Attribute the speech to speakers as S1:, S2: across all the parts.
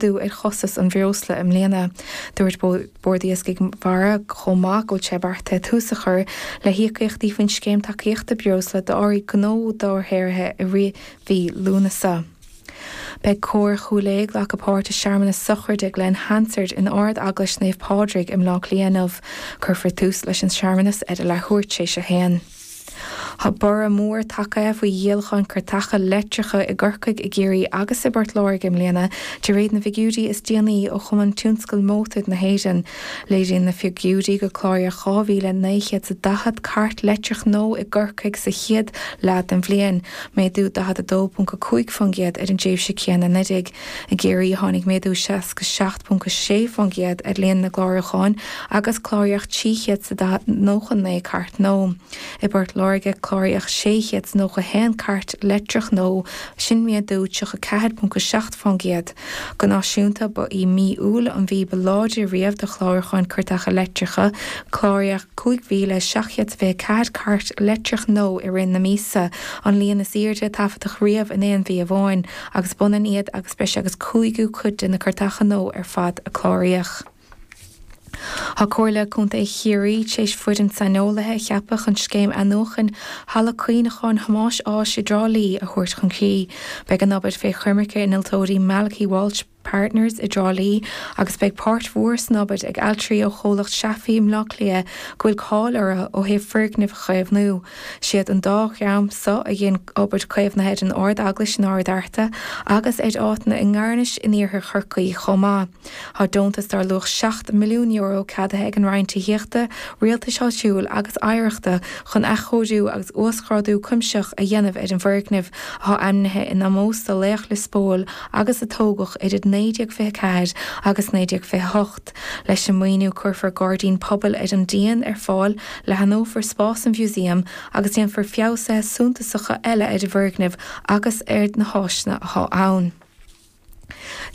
S1: Laghdú ar chostas an bhreosla i mbliana. Dúirt Bord Iascaigh Mhara chomh maith go bhfuil sé beartaithe tús a chur le híocaíochtaí faoin scéim tacaíochta breosla d'árthaí gnó dobharshaothraithe i rith mhí Lúnasa. Beidh Cór Chúil Aodha ag glacadh páirt i searmanas sochraide Glen Hansard in Ard-Eaglais Naomh Pádraig i mBleá Cliath inniu. Cuirfear tús leis an searmanas ar a leathuair tar éis a haon. Tá borradh mór tagtha faoi dhíolacháin cairteacha leictreacha i gCorcaigh, i gCiarraí agus i bPort Láirge i mbliana, de réir na bhfigiúirí is déanaí ó Chumann Tionscail Mótar na hÉireann. Léiríonn na figiúirí gur cláraíodh 2,940 cairt leictreach nua i gCorcaigh sa chéad leath den bhliain, méadú 42.5% ar an dtréimhse céanna anuraidh. I gCiarraí, tháinig méadú 67.6% ar líon na gclárúchán agus cláraíodh 399 cairt nua. I bPort Láirge, cláraíodh 691 cairt leictreach nua, sin méadú 34.7%. Go náisiúnta, ba í mí Iúil an mhí ba láidre riamh do chlárúcháin cairteacha leictreacha, cláraíodh 5,724 cairt leictreach nua i rith na míosa, an líon is airde a taifeadadh riamh in aon mhí amháin, agus b'ionann iad agus breis agus cúigiú cuid de na cairteacha nua ar fad a cláraíodh. Tá Comhairle Contae Chiarraí tar éis foireann saineolaithe a cheapadh chun scéim athnuachan Halla Cuimhneacháin Thomáis Ághas i dTrá Lí a thabhairt chun críche. Beidh an obair fé choimirce innealtóirí Malachy Walsh Partners i dTrá Lí agus beidh páirt mhór san obair ag ailtirí ó chomhlacht Seafaí i mBleá Cliath go bhfuil cáil orthu ó thaobh foirgnimh a chaomhnú. Siad an dá dhream so a dhein obair caomhnaithe ar an Ard-Eaglais in Ard Fhearta agus ar áiteanna i nGairnis in iarthar Chorcaí chomh maith. Tá deontas dar luach €7 milliún ceadaithe ag an Roinn Tithíochta, Rialtais Áitiúil agus Oidhreachta chun athchóiriú agus uasghrádú cuimsitheach a dhéanamh ar an bhfoirgneamh, atá ainmnithe in ómós do laoch Lios Póil agus a tógadh idir 1924 agus 1928. Leis an maoiniú cuirfear gairdín pobail ar an díon ar fáil, leathnófar spás an mhúsaeim agus déanfar feabhsuithe suntasacha eile ar an bhfoirgneamh agus ar na háiseanna atá ann.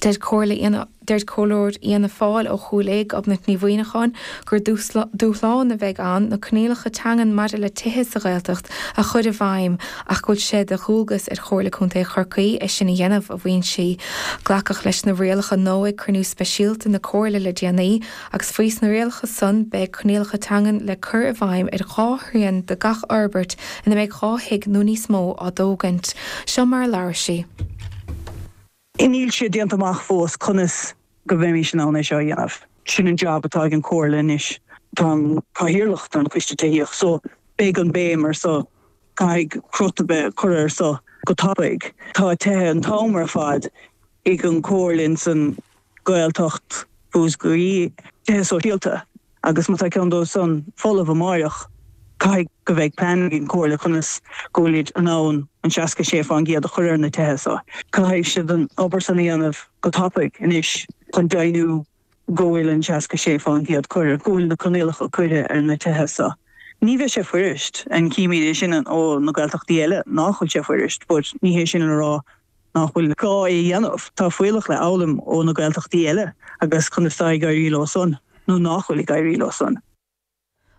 S1: Deir Comhairleoir Fhianna Fáil ó Chúil Aodha, Gobnait Ní Mhuimhneacháin, gur dúshlán a bheidh ann na coinníollacha teangan maidir le tithe sa Ghaeltacht a chur i bhfeidhm ach go bhfuil sé de dhualgas ar Chomhairle Contae Chorcaí é sin a dhéanamh, a mhaíonn sí. Glacadh leis na rialacha nua ag cruinniú speisialta na Comhairle le déanaí agus faoi sna rialacha san beidh coinníollacha teangan le cur i bhfeidhm ar dhá thrian de gach fhorbairt ina mbeidh 2 thigh nó níos mó á dtógaint. Seo mar a labhair sí.
S2: Níl sé déanta amach fós conas go mbeimis in ann é seo a dhéanamh. Sin an job atá ag an Chomhairle anois. Táim cathaoirleach ar an Choiste Tithíochta so beidh an béim ar so. Caithfidh crot a bheith curtha ar so go tapaidh. Tá tithe an t-am ar fad ag an Chomhairle ins an Ghaeltacht Mhúscraí, tithe sóisialta. Agus má tá ceann dóibh san folamh amáireach, caithfidh go bheidh plean ag an Chomhairle conas go bhfuilid in ann an 66% a chur ar na tithe so. Caithfidh siad an obair san a dhéanamh go tapaidh anois chun deimhniú go bhfuil an 66% curtha, go bhfuil na coinníollacha curtha ar na tithe so. Ní bheidh sé fuirist, and címid é sin ó na Gaeltachtaí eile nach bhfuil sé fuirist, but ní hé sin le rá nach bhfuil gá é a dhéanamh. Tá fuíollach le fhoghlaim ó na Gaeltachtaí eile agus conas tá ag éirí leo san nó nach bhfuil ag éirí leo san.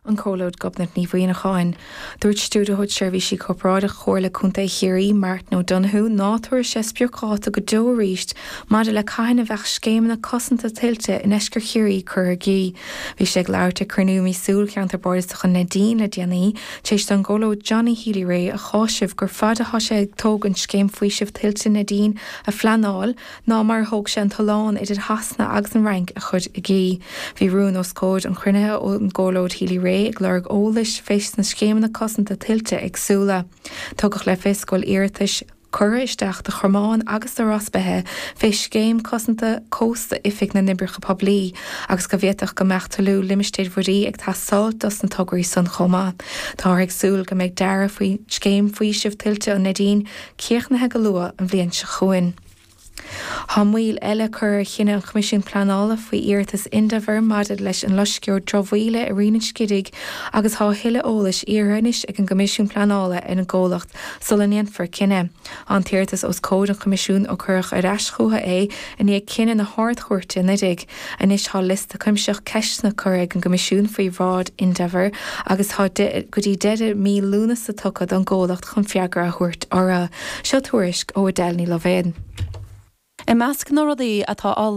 S1: An Comhairleoir Gobnait Ní Mhuimhneacháin. Dúirt Stiúrthóir Seirbhísí Corparáideacha Chomhairle Contae Chiarraí, Martin O'Donoghue, ná tabharfaidh sé spriocdháta go deo arís maidir le cathain a bheadh scéimeanna cosanta tuilte i ndeisceart Chiarraí curtha i gcrích. Bhí sé ag labhairt ag cruinniú míosúil Cheantar Bardasach an Neidín le déanaí, tar éis don gComhairleoir Johnny Healy-Rae a cháiseamh gur faide atá sé ag tógaint scéim faoisimh tuilte Neidín a phleanáil ná mar a thóg sé an tollán idir Shasana agus an Fhrainc a chur i gcrích. Bhí rún os comhair an chruinnithe ón gComhairleoir Healy-Rae ag lorg eolais fés na scéimeanna cosanta tuilte éagsúla. Tugadh le fios go bhfuil iarratais curtha isteach do Chromán agus do Ros Beithe fé Scéim Cosanta Cósta Oifig na nOibreacha Poiblí agus go bhféadfadh go mbeadh toiliú Limistéir Mhuirí ag teastáilt dos na tograí san chomh maith. Táthar ag súil go mbeidh dearadh faoi Scéim Faoisimh Tuilte an Neidín críochnaithe go luath an bhliain seo chugainn. Tá moill eile curtha ar chinneadh an Choimisiúin Pleanála faoi iarratas Indaver maidir leis an loisceoir dramhaíola i Rinn an Scidigh agus tá a thuilleadh eolais iarrtha anois ag an gCoimisiún Pleanála ar an gcomhlacht sula ndéanfar cinneadh. Tá an t-iarratas os comhair an Choimisiúin ó cuireadh ar ais chucu é i ndiaidh cinneadh na hArd-Chúirte anuraidh. Anois tá liosta cuimsitheach ceisteanna curtha ag an gCoimisiún faoi bhráid Indaver agus tá go dtí deireadh mí Lúnasa tugtha don gcomhlacht chun freagra a thabhairt orthu. Seo tuairisc ó Edel Ní Loibhéad.
S3: I measc na rudaí atá á lorg.